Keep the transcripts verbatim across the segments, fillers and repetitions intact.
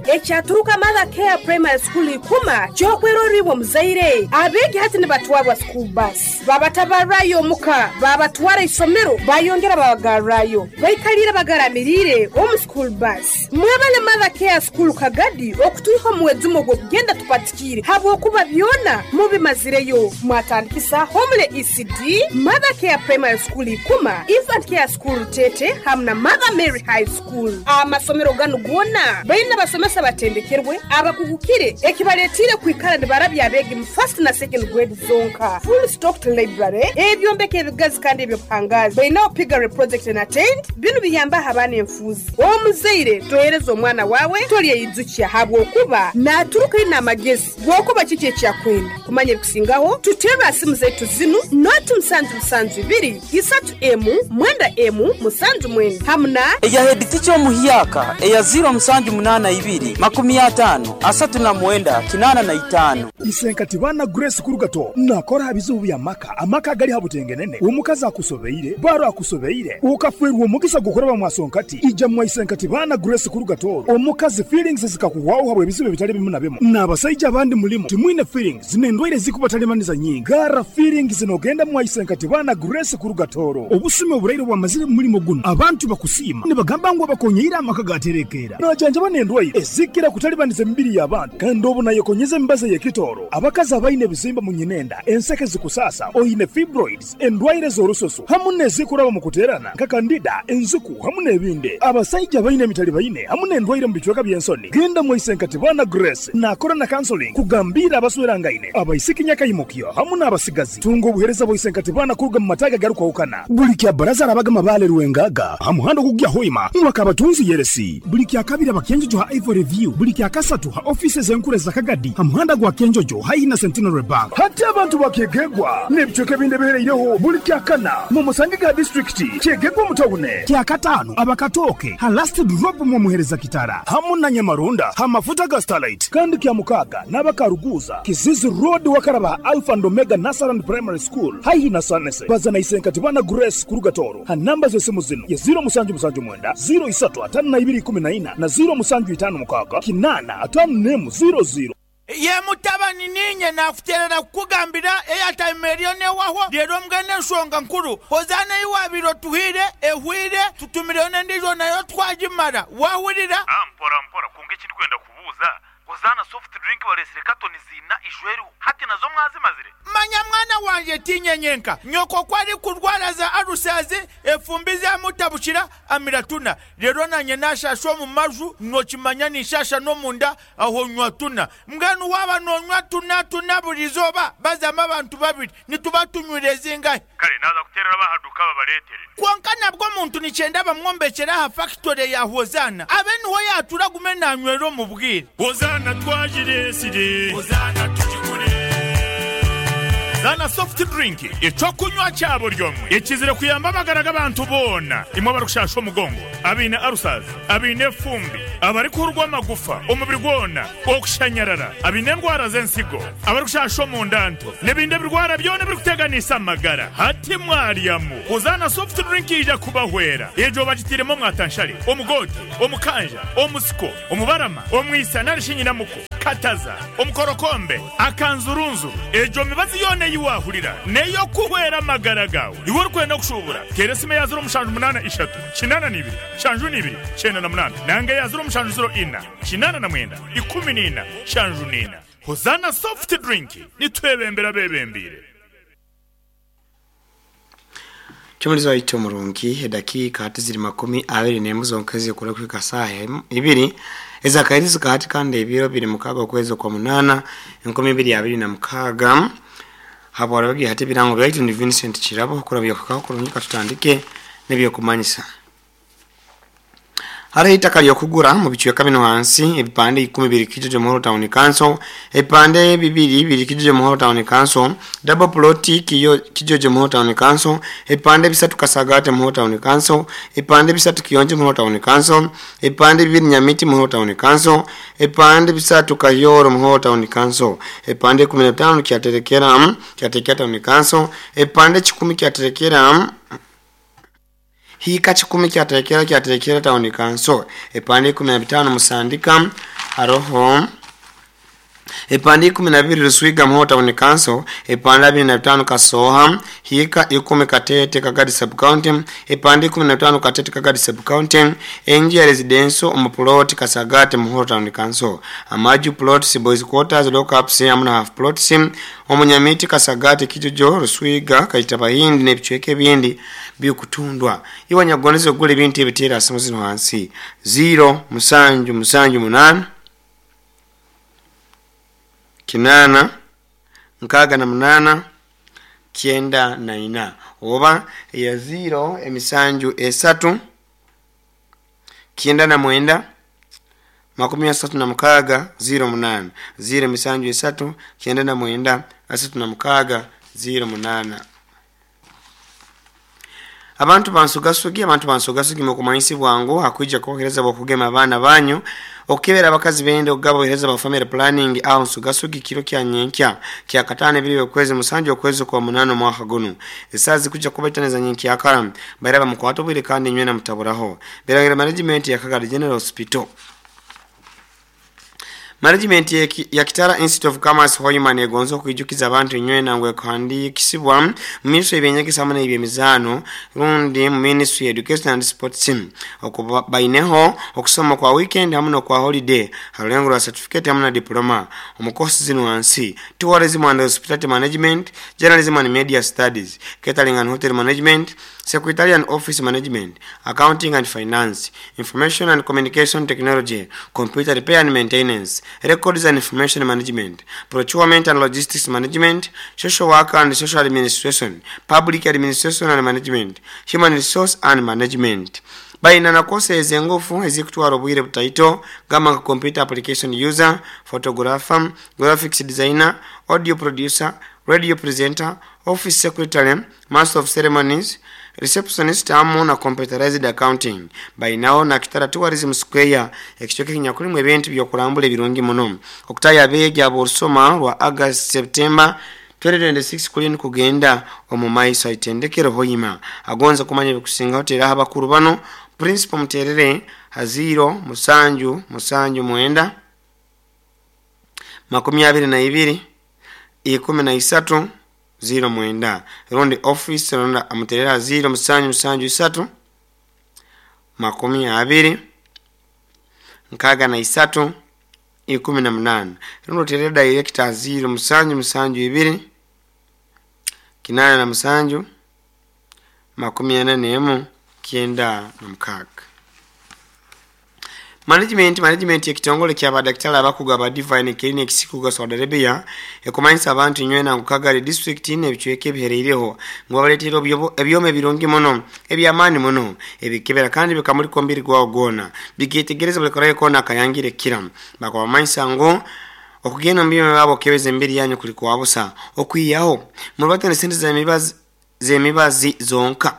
Ekyaturuka Mother Care Primary School ikuma kyokweroribwa muzaire. Abeegi hati nibatwarwa school bus. Babatabarrayo omuka, babatwara isomero, bayongera babagarrayo. Baikalire bagaramirire omu school bus. Mwebale Mother Care School Kagadi okutwiha omwezi ogwo kugenda tupatikire habwokuba byona mubimazireyo. Mwatandikisa Homule E C D, Mother Care Primary School ikuma, Infant Care School Tete hamwe na Mother Mary High School. Amasomero ganu gona baina basomesa batendekerwe abakugukire ekibaletire kwikara nibarabya abegi mu first na second grade zonka. Full stocked library, ebyombeko ebigazi kandi ebyobuhangazi. Baina piggery project and attend binu biyamba abaana enfuzi. Omuzaire tohereza omwana wawe tolyeyizukia habwokuba naturuka ina amagezi gwokuba kiki ekyakwenda. Kumanya ebikusingaho tutera simu zetu zinu noti musanju musanju ibiri isatu emu mwenda emu musanju mwenda hamna eya head teacher omuhyaka eya zero musanju munana ibiri makumi atano asatu na mwenda kinana na itano. Isenkati bana Grace Kurugato nakora habizubu bya maka amaka gali habutengenene omukazi akusobeire baro akusobeire ukafwerwa omugisa gukora bamwasonkati ija mwa Isenkati bana Grace Kurugato omukazi feelings zikakuwaho habwe bizibu bitali bimu na bimu n'abasajja abandi mulimo timwine feelings zinendwaire zikubatalemaniza nyingi gara feelings zinogenda mwa Isenkati bana Grace Kurugatoro obusume oburaire bwamazire mulimo guno abantu bakusima nibagamba ngo bakonyeira amaka gaterekera najanja banendwaire ezikira kutalibaniza emibiri y'abantu kandi obu nayekonyeza embaza y'ekitoro abakazi abaine ebizimba mu nyinenda enseke zikusasa oyine fibroids endwaire z'orusoso hamu n'ezikuraba mu kuterana nka kandida enzuku hamu n'ebindi abasajja abaine emitali baine hamu n'endwaire mu bicweka by'ensoni genda mwa Isenkati bana Grace nakora na counseling kugambira abaswerangaine abaisiki nyakayimukyo hamu n'abasigazi tunga obuhereza bwa Isenkati bana kuruga mu mataga garukwahukana buli kya baraza arabagama bale rwengaga hamuhando kugya hoima mwakabatunzi yeresi buli kya kabiri abakenjojo ha Ivory View buli kya kasatu ha offices enkure za Kagadi hamuhanda gwa Kenjojo haihi na Centenary Bank hati abantu bakegegwa n'ebicweka ebindi bihereireho buli kya kana mu Musangiga district kyegegwa mutawune kya katano abakatoke ha last drop mu muhereza kitara hamu na Nyamarunda ha mafuta ga Starlight kandi kya mukaga n'abakaruguza Kizizi Road wakaraba Alpha and Omega Nasaran Primary School haihi na Sanese bazana Isenkati bana Grace Kurugatoro ha namba z'esimu zino ya zero musanju musanju mwenda zero isatu atano na ibiri kumi na ina na zero musanju itano mukaga kinana atano nemu zero zero. Ye mutabani ninye nakuterera kukugambira airtime eriyo newaho rero mbwene enshonga nkuru hozana iwabiro tuhire ehwire tutumireyo n'endijo nayo twagimara wahurira. Ah, mpora mpora kunga ekindi kwenda kubuuza hozana soft drink baresire katoni zina ijweru hati nazo mwazimazire. Manya mwana wanje tinyenyenka nyoko kwari kurwara za arusazi efumbi zamutabukira amiratuna rero nanye nashasha mu maju nokimanya nishasha no munda aho nywa tuna mbwenu waba nonywa tuna tuna burizoba bazama abantu babiri nituba tunywire zingahe kare naza kuterera bahaduka babaretere konka nabwo muntu nicyenda bamwombekera ha factory ya Hozana abe niho yatura gume nanywero mu bwire Hozana twajiresire Hozana tujigure Zana soft drink ecokunywa cyabo ryomwe ekizire kuyamba amagara g'abantu bona imwe barukushasha omugongo abine arusazi abine fumbi abari kurwa amagufa umubiri gwona okushanyarara abine endwara z'ensigo abarikushasha omundanto n'ebindi ebirwara byona birikuteganisa amagara hati mwaryamu Hozana soft drink ija kubahwera ejo bagitiremo mwatanshari omugoti omukanja omusiko omubarama omwisa narishinyinamuko kataza omukorokombe akanzurunzu ejo mibazi yone yiwahurira neyo kuhwera amagara gawe iwe urikwenda kushubura teresime ya zero mushanju munana ishatu kinana nibiri shanju nibiri cyenda na munana nange ya zero mushanju zero ina kinana na mwenda ikumi nina shanju nina. Hozana soft drink nitwebembera bebembire. Chumulizo wa ito murungi dakika ziri makumi abiri n'emu zonka kula kwika saha ibiri ezakairizi kati kandi ebiro biri mukaga okwezo kwa munana enkumi ibiri abiri na mukaga hapo warabagi hati birango byaitu ni Vincent Chirabo kurabya kukaho kurungi tutandike n'ebyokumanyisa. Hariho itaka lyokugura mu bicweka bino hansi ebipande ikumi biri Kijojo Muhoro Town Council, ebipande bibiri biri Kijojo Muhoro Town Council, double plot kiyo Kijojo Muhoro Town Council, ebipande bisatu Kasagate Muhoro Town Council, ebipande bisatu Kiyonje Muhoro Town Council, ebipande bibiri Nyamiti Muhoro Town Council, ebipande bisatu Kayoro Muhoro Town Council, ebipande kumi na bitano kyaterekera kyaterekera Town Council, ebipande kikumi kyaterekera hika chikumi kyaterekera kyaterekera Town Council, ebipande kumi na bitano Musandika Haroho epande ikumi na bibiri Ruswiga Muhoro Town Council, epande abiri na bitano Kasoha, Hika ikumi Katete Kagadi Sub County, epande ikumi na bitano Katete Kagadi Sub County, enju ya residential omu plot Kasagate Muhoro Town Council, amaju plots boys quarters lockups hamwe na half plots omunyamiti Kasagate Kijojo Ruswiga Kaitabahindi n'ebicweka ebindi byokutundwa. Iwe nyagondeze ogula ebintu ebiteera asimu zino hansi zero musanju musanju munana kinana nkaga na munana kyenda na ina oba ya zero emisanju esatu kyenda na mwenda makumi asatu na mukaga zero munana zero emisanju esatu kyenda na mwenda asatu na mukaga zero munana. Abantu bansugasugi abantu bansugasugi mukumanyisi bwangu hakuija kohereza bokugema abaana banyu okebera abakazi bende ogabo ohereza ba family planning aho nsugasugi kiro kya nyenkya kya katano ebiri okwezi musanju okwezi kwa munano mwaka guno esazi kuja kubataneza nyenkya akara baraba mukwato bwire kandi nywe na mutaburaho berangira management ya Kagadi General Hospital. Management ya Kitara Institute of Commerce Hoima negonzo kuijukiza abantu nywe nangwe kandi kisibwa ministry ebyenyegesa hamwe n'ebyemizano rundi ministry education and sports okuba baineho okusoma kwa weekend hamwe no kwa holiday harulengo lwa certificate hamwe na diploma omukosi zino wansi tourism and hospitality management, journalism and media studies, catering and hotel management, secretarial and office management, accounting and finance, information and communication technology, computer repair and maintenance, records and information management, procurement and logistics management, social work and social administration, public administration and management, human resource and management. Baina na kose ezengufu ezikutwara obwire butaito gama computer application user, photographer, graphics designer, audio producer, radio presenter, office secretary, master of ceremonies, receptionist amu na computerized accounting. Bainao na Kitara Tourism Square ekichoke kinyakulimu ebintu byokulambula ebirungi muno. Okutaya abeegi ab'olusoma lwa August September twenty twenty-six kulini kugenda omu maiso aitendekero Hoima. Agonza kumanya ebikusingaho teraho abakuru bano Principal Muterere haziro musanju musanju mwenda makumi abiri na ibiri ikumi na isatu zero mwenda rundi office ronda amuterera zero musanju musanju isatu makumi abiri nkaga na isatu ikumi na munana rundi oterera director zero musanju musanju ibiri kinana na musanju makumi ana n'emu kyenda na mukaga. Management management ekitongole kya badaktari abakugu aba Divine Clinic Sikuga Saudi Arabia ekumanyisa abantu nywe na Kagari district n'ebicweka ebihereireho ngo babaletera ebyoma ebirungi muno ebyamaani muno ebikebera kandi bikamulika omubiri gwawo gwona biketegereza buli karayo kona akayangire kira bakabamanyisa ngo okugenda mu byoma byabo okebeza emibiri yanyu kuli kwabusa okwiyaho mubatane sente z'emibazi z'emibazi zonka.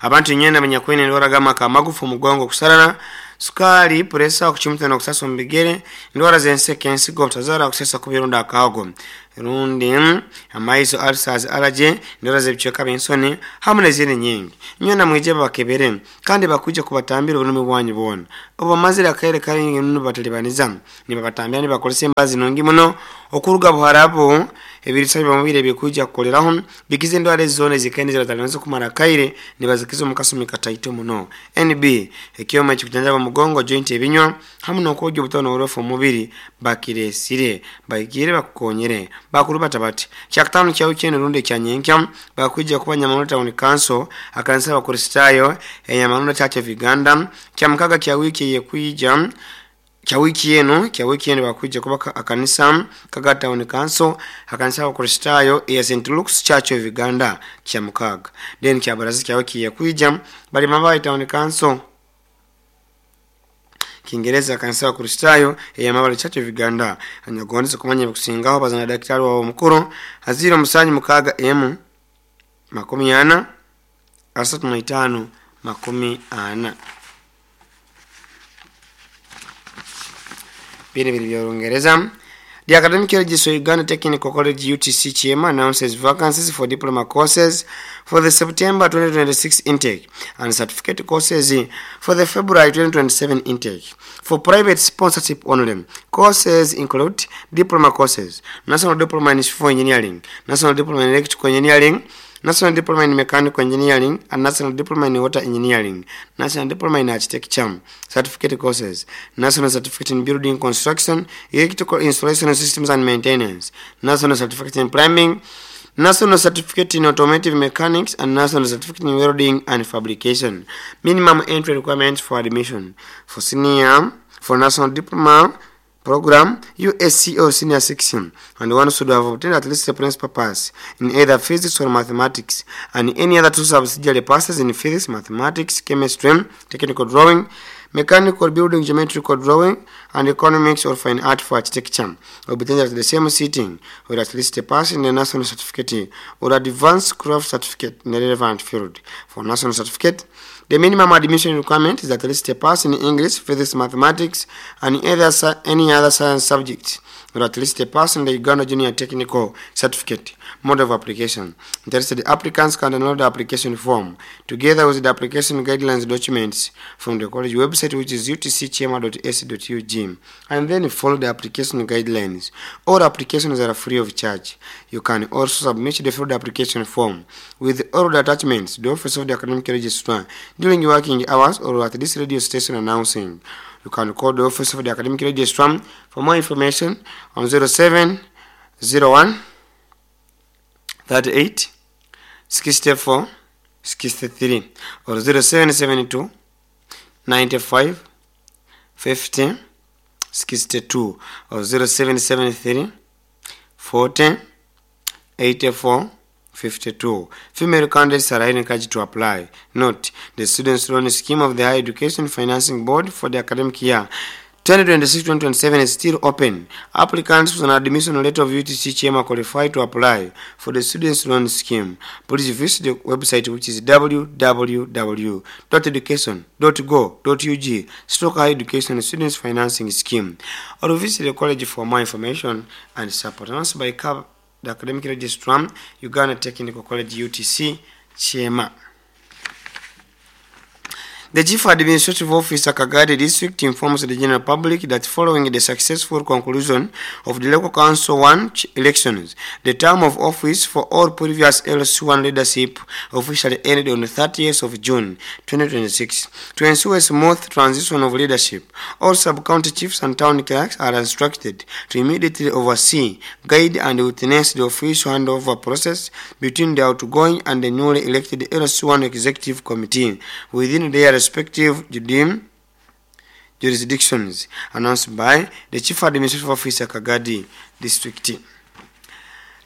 Abantu nywe n'abanyakwene endwara g'amaka amagufu omugongo okusarara sukari, puresa, okuchumita n'okusasa omu bigere, endwara z'enseke, ensigo, obutazaara, okusesa kubironda akago rundi amaiso, ulcers, allergy, endwara z'ebicweka by'ensoni hamwe n'ezindi nyingi. Nywe namwije babakebere kandi bakwija kubatambira obulumi bwanyu bwona. Obamazire akaire karingi muno batalibaniza nibabatambira nibakozesa embazi nungi muno okuruga Buharabu ebirisa by'omubiri ebikwija kukoleraho bikiza endwara ezi zoona ezikaine ziratalibanza kumara akaire nibazikiza omu kasumi kataito muno. N B ekyoma ekikujanjaba omugongo, joint ebinywa hamwe n'okwogya obutono oburofu omubiri bakiresire baigire bakukonyere bakuru batabati. Kyakutano kya wiki eno rundi ekya nyenkya bakwija kuba Nyamanunda Town Council akanisa abakristaayo Nyamanunda Church of Uganda. Kya mukaga kya wiki yekwija kya wiki eno kya wiki eno bakwija kuba akanisa Kaga Town Council akanisa abakristaayo ya Saint Luke's Church of Uganda kya mukaga. Then kya baraza kya wiki yekwija bali Mabayi Town Council Kiingereza kanisa wa Kristayo ya Mabali Church of Uganda. Anyagonza kumanya bikusingaho bazana daktari wa mukuru haziro musanyu mukaga emu makumi ana asatu na itano makumi ana. Biri biri bya Uingereza. The Academic Registrar Uganda Technical College U T C Kyema announces vacancies for diploma courses for the September twenty twenty-six intake and certificate courses for the February twenty twenty-seven intake. For private sponsorship only, courses include diploma courses, National Diploma in Civil Engineering, National Diploma in Electrical Engineering, National Diploma in Mechanical Engineering, and National Diploma in Water Engineering, National Diploma in Architecture, Certificate courses, National Certificate in Building Construction, Electrical Installation Systems and Maintenance, National Certificate in Plumbing, National Certificate in Automotive Mechanics, and National Certificate in Welding and Fabrication. Minimum entry requirements for admission. For senior, for National Diploma Program, U S C O Senior Section, and one should have obtained at least a principal pass in either physics or mathematics, and any other two subsidiary passes in physics, mathematics, chemistry, technical drawing, mechanical building, geometrical drawing, and economics or fine art for architecture, obtained at the same sitting, or at least a pass in the national certificate or advanced craft certificate in the relevant field. For national certificate, the minimum admission requirement is at least a pass in English, physics, mathematics, and either, any other science subject, or at least a pass in the Uganda Junior Technical Certificate. Mode of application. Interested applicants can download the application form together with the application guidelines documents from the college website, which is U T C kyema dot A C dot U G, and then follow the application guidelines. All applications are free of charge. You can also submit the filled application form with all the attachments to the Office of the Academic Registrar during working hours or at this radio station announcing. You can call the Office of the Academic Registrar for more information on zero seven zero one thirty-eight sixty-four sixty-three or zero seven seven two ninety-five fifty sixty-two or zero seven seven three forty eighty-four fifty-two. Female candidates are encouraged to apply. Note, the Students' Loan Scheme of the Higher Education Financing Board for the academic year twenty twenty-six twenty twenty-seven is still open. Applicants with an admission letter of U T C Kyema qualify to apply for the Students' Loan Scheme. Please visit the website, which is w w w dot education dot go dot u g stroke higher education students financing scheme, or visit the college for more information and support. Announced by the Academic Registrar, Uganda Technical College U T C Kyema. The Chief Administrative Officer, Kagadi District, informs the general public that following the successful conclusion of the Local Council one elections, the term of office for all previous L C one leadership officially ended on the thirtieth of June twenty twenty-six. To ensure a smooth transition of leadership, all sub-county chiefs and town clerks are instructed to immediately oversee, guide and witness the official handover process between the outgoing and the newly elected L C one Executive Committee within their respective jurisdictions, announced by the Chief Administrative Officer, Kagadi District.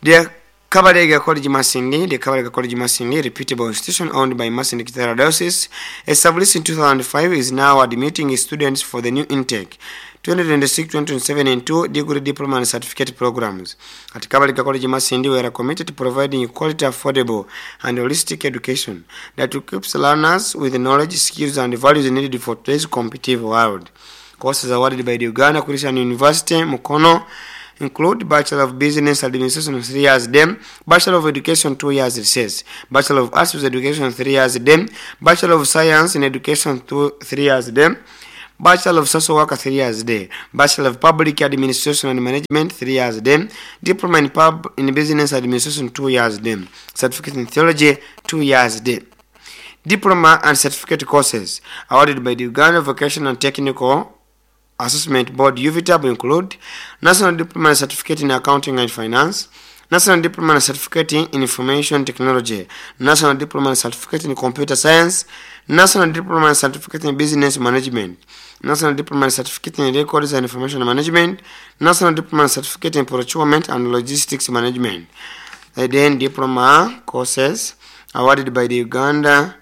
The Kabalega College Masindi, the Kabalega College Masindi, reputable institution owned by Masindi Kitara Diocese, established in two thousand five, is now admitting students for the new intake twenty twenty-six twenty twenty-seven and two degree, diploma and certificate programs. At Kabalega College Masindi, we are committed to providing quality, affordable and holistic education that equips learners with the knowledge, skills and values needed for today's competitive world. Courses awarded by the Uganda Christian University, Mukono, include Bachelor of Business Administration three years dem, Bachelor of Education two years recess, Bachelor of Arts with Education three years dem, Bachelor of Science in Education two three years dem, Bachelor of Social Work three years day, Bachelor of Public Administration and Management three years day, Diploma in Pub in Business Administration two years day, Certificate in Theology two years day. Diploma and certificate courses awarded by the Uganda Vocational and Technical Assessment Board U V T A B include National Diploma and Certificate in Accounting and Finance, National Diploma and Certificate in Information Technology, National Diploma and Certificate in Computer Science, National Diploma and Certificate in Business Management, National Diploma and Certificate in Records and Information Management, National Diploma and Certificate in Procurement and Logistics Management. Then diploma courses awarded by the Uganda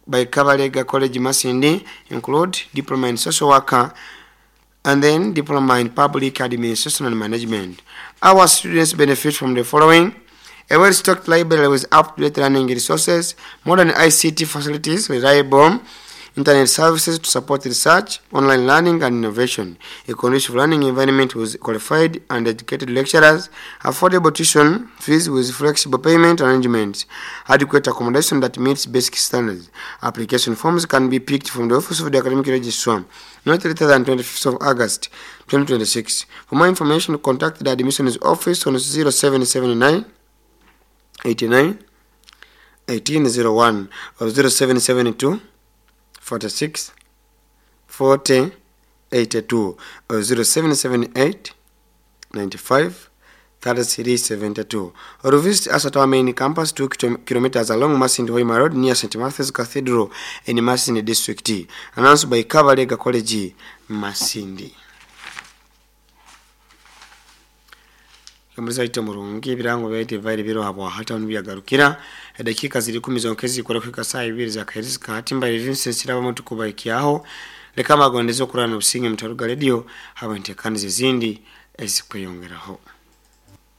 by Kabalega College Masindi include Diploma in Social Worker and then Diploma in Public Administration and Management. Our students benefit from the following: a well-stocked library with up-to-date learning resources, modern I C T facilities, reliable Internet services to support research, online learning and innovation. A conducive learning environment with qualified and educated lecturers, affordable tuition fees with flexible payment arrangements, adequate accommodation that meets basic standards. Application forms can be picked from the office of the academic registrar not later than twenty-fifth of August twenty twenty-six. For more information, contact the admissions office on zero seven seven nine eighty-nine eighteen oh one or zero seven seven two forty-six forty eighty-two or zero seven seven eight ninety-five thirty-three seventy-two, or visit us at our main campus, two kilometers along Masindi Hoima Road, near Saint Matthew's Cathedral in Masindi District. Announced by Kabalega College, Masindi. Muzaite murungi, ebirango byaite vaire biro habwa hata nibyagarukira. Edakiika ziri kumi zonka ezikora kuhika saa ibiri za kahirizika. Hati mbaire Vincent Kiraba tukubaikyaho. Leka magondeze okurana obusinge mutaruga radio haba ntekaniza ezindi ezikweyongeraho.